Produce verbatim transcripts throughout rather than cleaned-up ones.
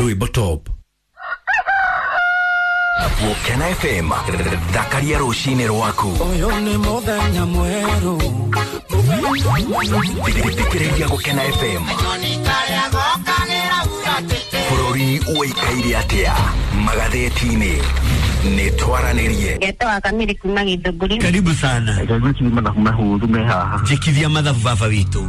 Rwĩmbo Top. Gũkena F M, thakaria rũcinĩ rwaku. Ũyũ nĩ mũthenya mwerũ. Thikĩrĩria Gũkena F M. Bũrũri ũikaire atĩa magathĩti-inĩ? Nĩ twaranĩrie. Ngetwa Kamiri kuma Githũngũri. Karibu sana. Njikithia mathabu baba witũ.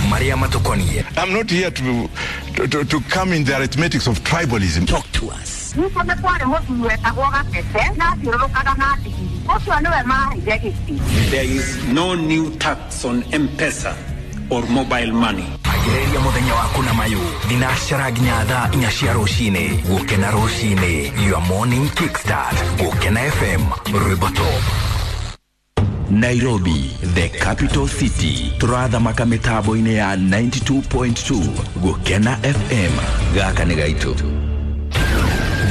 Marĩa matũkoniĩ. I'm not here to, to, to, to come in the arithmetics of tribalism. Talk to us. Nĩkũ nĩ kwarĩ mũthuri wetagwo Gatete na athiũrũrũkaga na ndigiri. Ũcio nĩwe maheire gĩtĩ. There is no new tax on M-Pesa or mobile money. Ambĩrĩria mũthenya waku na mayũ thinacara nginya thaa inya cia rũcinĩ. Gũkena rũcinĩ, your morning kickstart. Gũkena F M, Rwĩmbo Top. Nairobi, the capital city. Tũrathamaka mĩtambo-inĩ ya ninety-two point two. Gũkena F M, gaka nĩ gaitũ.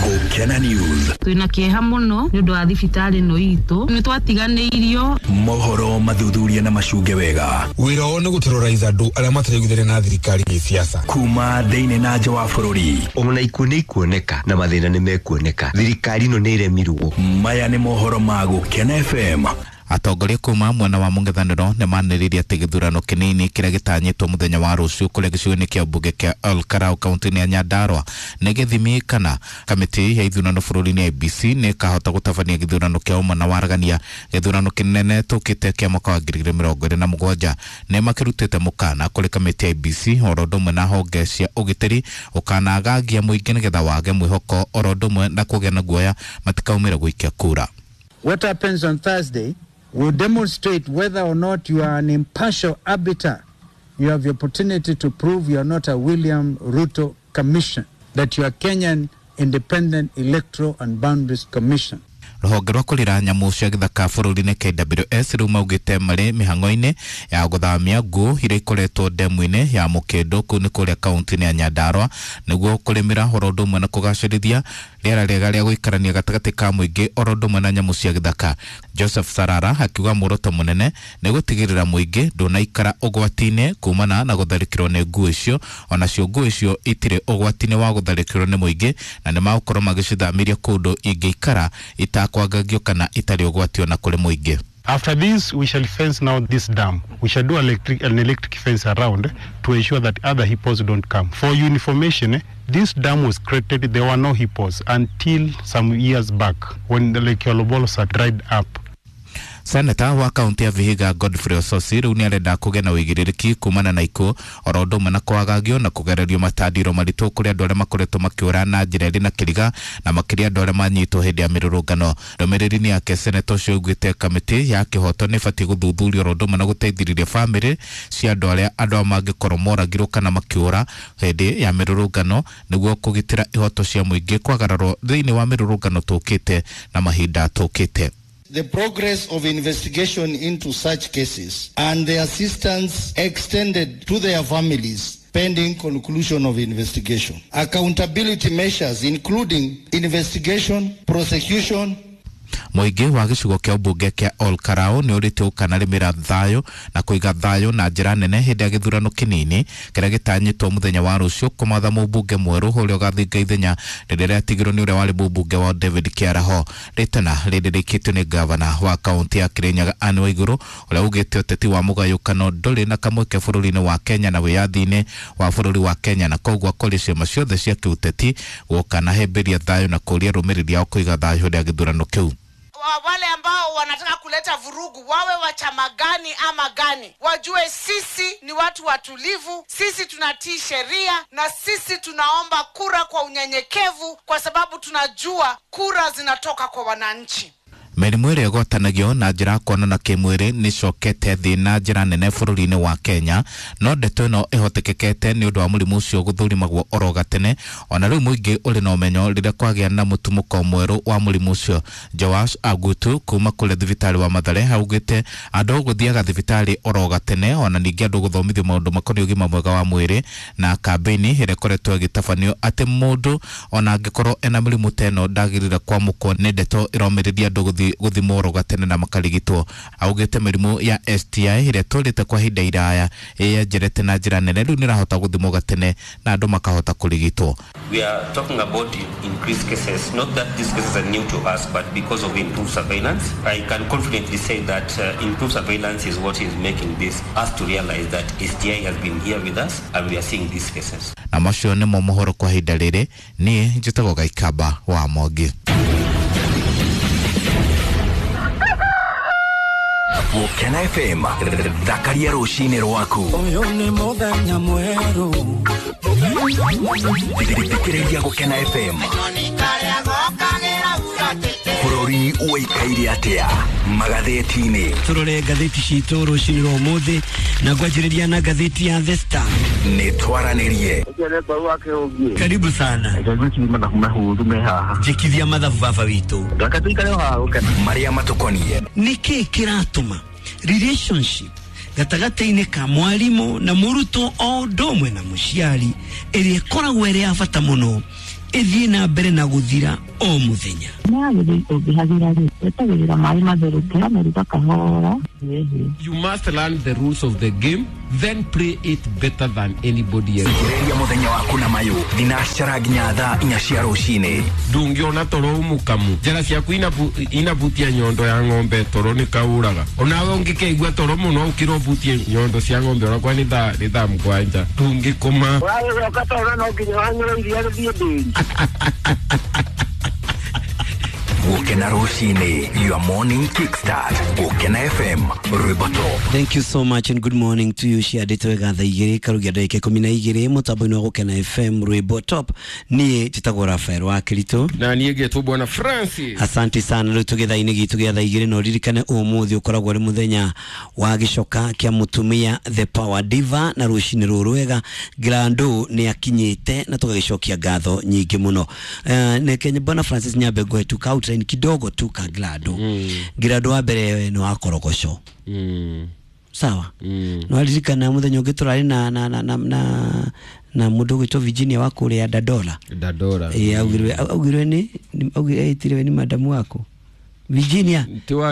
Gũkena News. Twĩna kĩeha mũno nĩ ũndũ wa thibitarĩ ĩno itũ. Nĩ twatiganĩirio. Mohoro mathuthuria na macunge wega. Wĩra wao nĩ gũterrorize andũ arĩa mataraiguithania na thirikari gĩsiasa. Kuma thĩinĩ na nja wa bũrũri. Ona ikuũ nĩ ikuoneka na mathĩna nĩ mekuoneka. Thirikari ĩno nĩ ĩremirwo. Maya nĩ mohoro ma Gũkena F M. Atongoria kuma mwena wa mũng'ethanĩro nĩ manĩrĩirie atĩ gĩthurano kĩnini kĩrĩa gĩtanyĩtwo mũthenya wa rũciũ kũrĩa gĩcigo-inĩ kĩa mbunge kĩa Ol Kalou kaunti-inĩ ya Nyandarua nĩ gĩthimi kana kamĩtĩ ya ithurano bũrũri-inĩ I B C nĩ ĩkahota gũtabania gĩthurano kĩa ũma na waragania. Gĩthurano kĩnene tũkĩte kĩa mwaka wa ngiri igĩrĩ mĩrongo ĩrĩ na mũgwanja nĩ makĩrutĩte mũkana kũrĩ kamĩtĩ ya I B C oro ũndũ ũmwe na honge cia ũgitĩri ũkanagagia mũingĩ nĩgetha wage mwĩhoko oro ũndũ ũmwe na kũgĩa na guoya matikaumĩre gũikia kura. What happens on Thursday will demonstrate whether or not you are an impartial arbiter. You have the opportunity to prove you are not a William Ruto commission, that you are Kenyan Independent Electoral and Boundaries Commission. Rũhonge rwa kũrĩra nyamũ cia gĩthaka bũrũri-inĩ K W S rĩu maugĩte marĩ mĩhang'o-inĩ ya gũthamia nguũ iria ikoretwo ndemu-inĩ ya Mũkĩndũ kũu nĩ kũrĩa kaunti-inĩ ya Nyandarua nĩguo kũrĩmĩra oro ũndũ ũmwe na kũgacĩrithia rĩera rĩega rĩa gũikarania gatagatĩ ka mũingĩ oro ũndũ ũmwe na nyamũ cia gĩthaka. Joseph Sarara akiuga muoroto mũnene nĩ gũtigĩrĩra mũingĩ ndũnaikara ũgwati-inĩ kumana na gũtharĩkĩrwo nĩ nguũ icio, onacio nguũ icio itirĩ ũgwati-inĩ wa gũtharĩkĩrwo nĩ mũingĩ na nĩ magũkorwo magĩcithamĩria kũndũ ingĩikara itakwangagio kana itarĩ ũgwati ona kũrĩ mũingĩ. After this, we shall fence now this dam. We shall do electric, an electric fence around to ensure that other hippos don't come. For your information, this dam was created, there were no hippos until some years back when the Lake Olobolosat dried up. Seneta wa kaunti ya Vihiga Godfrey Osotsi rĩu nĩarenda kũgĩa na ũigĩrĩrĩki kumana na ikuũ oro ũndũ ũmwe na kwagagio na kũgererio matandiro maritũ kũrĩ andũ arĩa makoretwo makĩũra na njĩra ĩrĩ na kĩriga na makĩria andũ arĩa manyitwo hĩndĩ ya mĩrũrũngano. Ndũmĩrĩri-inĩ yake seneta ũcio augĩte kamĩtĩ ya kĩhoto nĩ ĩbatiĩ gũthuthuria oro ũndũ ũmwe na gũteithĩrĩria bamĩrĩ cia andũ arĩa andũ aya mangĩkorwo moragirwo kana makĩũra hĩndĩ ya mĩrũrũngano nĩguo kũgitĩra ihoto cia mũingĩ kwagararwo thĩinĩ wa mĩrũrũngano tũkĩte na mahinda tũkĩte. The progress of investigation into such cases and the assistance extended to their families pending conclusion of investigation. Accountability measures including investigation, prosecution. Mũingĩ wa gĩcigo kĩa ũmbunge kĩa Ol Kalou nĩ ũrĩte ũkanarĩmĩra thayũ na kũiga thayũ na njĩra nene hĩndĩ ya gĩthurano kĩnini kĩrĩa gĩtanyĩtwo mũthenya wa rũciũ kũmatha mũmbunge mwerũ ũrĩa ũgathinga ithenya rĩrĩa rĩatigirwo nĩ ũrĩa warĩ mũmbunge wa David Kĩaraho. Rĩtana rĩrĩ rĩikĩtio nĩ gavana wa kaunti ya Kĩrĩnyaga Anne Waigũrũ ũrĩa ugĩte ũteti wa mũgayũkano ndũrĩ na kamweke bũrũri-inĩ wa Kenya na wĩyathi-inĩ wa bũrũri wa Kenya na koguo akũria ciama ciothe cia kĩũteti gũkanahĩmbĩria thayũ na kũria arũmĩrĩri ao kũiga thayũ hĩndĩ ya gĩthurano kĩu. Wale ambao wanataka kuleta vurugu wawe wa chama gani ama gani, wajue sisi ni watu watulivu, sisi tunatii sheria na sisi tunaomba kura kwa unyenyekevu kwa sababu tunajua kura zinatoka kwa wananchi. Mĩrimũ ĩrĩa ĩgwatanagio na njĩra ya kuonana kĩmwĩrĩ nĩcokete thĩ na njĩra nene bũrũri-inĩ wa Kenya, no ndeto ĩno ĩhotekekete nĩ ũndũ wa mũrimũ ũcio gũthũrimagwo oro gatene. Ona rĩu mũingĩ ũrĩ na ũmenyo rĩrĩa kwagĩa na mũtumũko mwerũ wa mũrimũ ũcio. Joash Agutu kuma kũrĩa thibitarĩ wa Mathare augĩte andũ gũthiaga thibitarĩ oro gatene, ona ningĩ andũ gũthomithio maũndũ makoniĩ ũgima mwega wa mwĩrĩ na kambĩini ĩrĩa ĩkoretwo ĩgĩtabanio atĩ mũndũ ona angĩkorwo ena mĩrimũ ta ĩno ndagĩrĩire kwamũkwo nĩ ndeto ĩromĩrĩria andũ gũthiĩ gũthimwo oro gatene na makarigitwo. Augĩte mĩrimũ ya S T I ĩrĩa ĩtũrĩte kwa ihinda iraya ĩyenjerete na njĩra nene rĩu nĩrahota gũthimwo gatene na andũ makahota kũrigitwo. We are talking about increased cases, not that these cases are new to us, but because of improved surveillance. I can confidently say that uh, improved surveillance is what is making this us to realize that S T I has been here with us and we are seeing these cases. Na macio nĩmo mohoro kwa ihinda rĩrĩ. Niĩ njĩtagwo Gaikamba wa Mwangi. Gũkena F M, thakaria rũcinĩ rwaku. Ũyũ nĩ mũthenya mwerũ. Thikĩrĩria Gũkena F M. Bũrũri ũikaire atĩa magathĩti-inĩ? Tũrore ngathĩti citũ rũcinĩ rwa ũmũthĩ na ngwanjĩrĩria na ngathĩti ya The Star. Nĩ twaranĩrie. Karibu sana. Njĩkithia mathabu baba witũ. Marĩa matũkoniĩ. Nĩkĩ kĩratũma relationship gatagatĩ-inĩ ka mwarimũ na mũrutwo o ũndũ ũmwe na mũciari ĩrĩa ĩkoragwo ĩrĩ ya bata mũno ĩthiĩ na mbere na gũthira o mũthenya? You must learn the rules of the game, then play it better than anybody else. Thikĩrĩria mũthenya waku na mayũ thinacara nginya thaa inya cia rũcinĩ. Ndũngĩona toro mũkamu njĩra ciaku inabutia nyondo ya ng'ombe toro nĩ kaũraga. Onawe ũngĩkeigua toro mũno ũkĩra ũbutie nyondo cia ng'ombe onakwa nĩ thaa nĩ thaa mũgwanja ndũngĩkoma. Ũragĩcoka toro no nginya wanyue iria rĩthiĩ ndĩri. Gũkena rũcinĩ, your morning kickstart. Gũkena F M, rwĩmbo top. Thank you so much and good morning to you. Ciandĩtwo wega thaa igĩrĩ karugia ndagĩka ikũmi na igĩrĩ mũtambo-inĩ wa Gũkena F M rwĩmbo top. Niĩ njĩtagwo Rafael wa Kĩritũ na niĩ ngetwo Bwana Francis. Asante sana. Rĩu tũgĩ thaa-inĩ gitũ gĩa thaa igĩrĩ na ũririkane ũmũthĩ ũkoragwo ũrĩ mũthenya wa gĩcoka kĩa mũtumia The Power Diva na rũcinĩ rũrũ wega Grando nĩ akinyĩte na tũgagĩcokia ngatho nyingĩ mũno. Uh, neke Bwana Francis nyambe ngũhe tu ka outline kidogo tu ka Grando. Mm. Grando wa mbere nĩ wa korogoco. Mm. Sawa. Mm. No aririkana mũthenya ũngĩ tũrarĩ na na na na na, na mũndũ ũgwĩtwo Virginia wa kũrĩa Dandora. Dandora. Eh, augirwe augirwe nĩ augire ĩtirwe nĩ madamu wako. Virginia.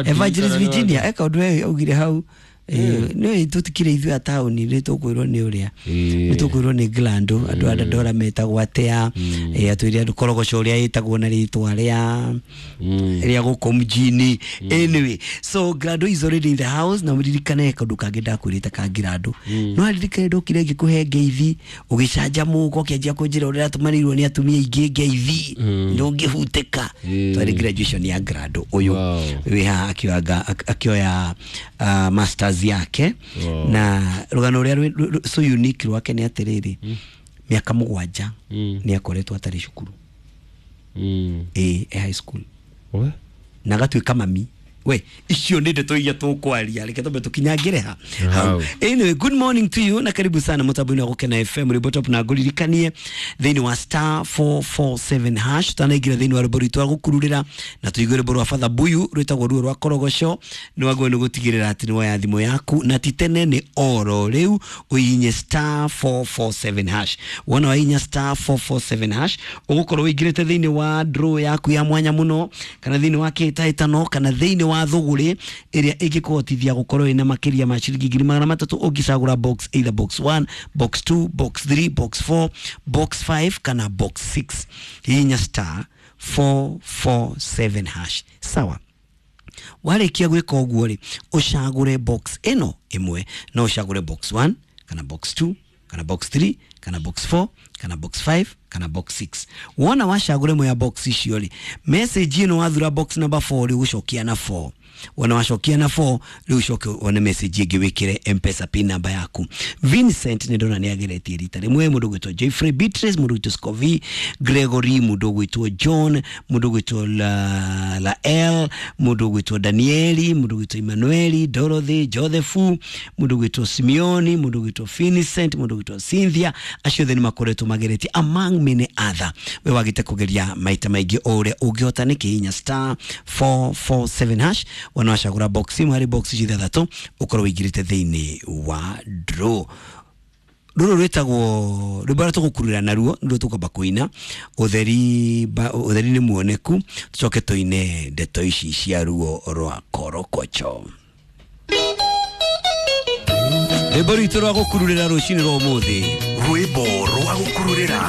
Evangelist Virginia eka ũndũ augire hau. Eh, no tutikire ithuĩ a taũni nĩ tũkwĩrwo nĩ ũrĩa nĩ tũkwĩrwo nĩ Grando andũ a Dandora metagwo atĩa, eh atwĩre andũ korogoco ũrĩa ĩtagwo na rĩtwa rĩa rĩa gũkũ mjini. Anyway, so Grando is already in the house na mũririkane kaũndũ kangĩ ndakwĩrĩte ka Grando. No aririkane ndokire ngĩkũhe ngeithi ũgĩcanjamũka ũkĩanjia kũnjĩra ũrĩa ũratũmanĩirwo nĩ atumia aingĩ ngeithi ndũngĩhutĩka. Twarĩ graduation ya Grando ũyũ wĩ haha akĩoya masters yake. Wow. Na rũgano rũrĩa so unique rwake nĩ atĩrĩrĩ, mĩaka mũgwanja nĩ akoretwo atarĩ cukuru. Mm. E, e high school. We? Na agatuĩka mami. We, icio nĩ ndeto iria tũkwaria reke twambe tũkinyangĩre ha. Wow. Anyway, good morning to you na karibu sana mũtambo-inĩ wa Gũkena F M rwĩmbo top na ngũririkanie thĩinĩ wa star four four seven hash tanaingĩra thĩinĩ wa rwĩmbo rwitũ rwa gũkururĩra na tũigue rwĩmbo rwa Father Buyu rwĩtagwo ruo rwa korogoco. Nĩ wagĩrĩirwo nĩ gũtigĩrĩra atĩ nĩ woya thimũ yaku na ti tene nĩ oro rĩu ũhihinye star four four seven hash. Wona wahihinya star four four seven hash ũgũkorwo ũingĩrĩte thĩinĩ wa draw yaku ya mwanya mũno kana thĩinĩ wa kĩhĩtahĩtano kana thĩinĩ wa thũgũrĩ ĩrĩa ĩngĩkũhotithia gũkorwo ĩna makĩria ma ciringi ngiri magana matatũ ũngĩcagũra box either box one, box two, box three, box four, box five kana box six. Hihinya star four four seven hash. Sawa. Warĩkia gwĩka ũguo rĩ, ũcagũre box ĩno ĩmwe, no ũcagũre box one kana box two kana box three kana box four kana box five kana box six. Wona wacagũre ĩmwe ya box icio rĩ, message ĩno wathura box number four rĩ ũgũcokia na four. Wona wacokia na four rĩu ũcoke wone message ĩngĩ wĩkĩre M-Pesa pin number yaku. Vincent nĩ ndona nĩ ageretie rita rĩmwe, mũndũ ũgwĩtwo Jeffrey Beatrice, mũndũ ũgwĩtwo Scovi Gregory, mũndũ ũgwĩtwo John, mũndũ ũgwĩtwo La, La L, mũndũ ũgwĩtwo Danieli, mũndũ ũgwĩtwo Emmanueli, Dorothy, Joseph, mũndũ ũgwĩtwo Simeoni, mũndũ ũgwĩtwo Vincent, mũndũ ũgwĩtwo Cynthia. Acio othe nĩ makoretwo mageretie among many other. We wagĩte kũgeria maita maingĩ o ũrĩa ũngĩhota nĩ kĩhinya star four four seven hash. Wona wacagũra box imwe harĩ box ithathatũ ũkorwo ũingĩrĩte thĩinĩ wa draw. Rũrũ rwĩtagwo rwĩmbo rũrĩa tũgũkururĩra naruo nĩruo tũkwamba kũina ũtheri ba- ũtheri nĩ muoneku, tũcoke tũine ndeto ici cia ruo rwa korokocho. Rwĩmbo rwitũ rwa gũkururĩra rũcinĩ rwa ũmũthĩ. Rwĩmbo rwa gũkururĩra.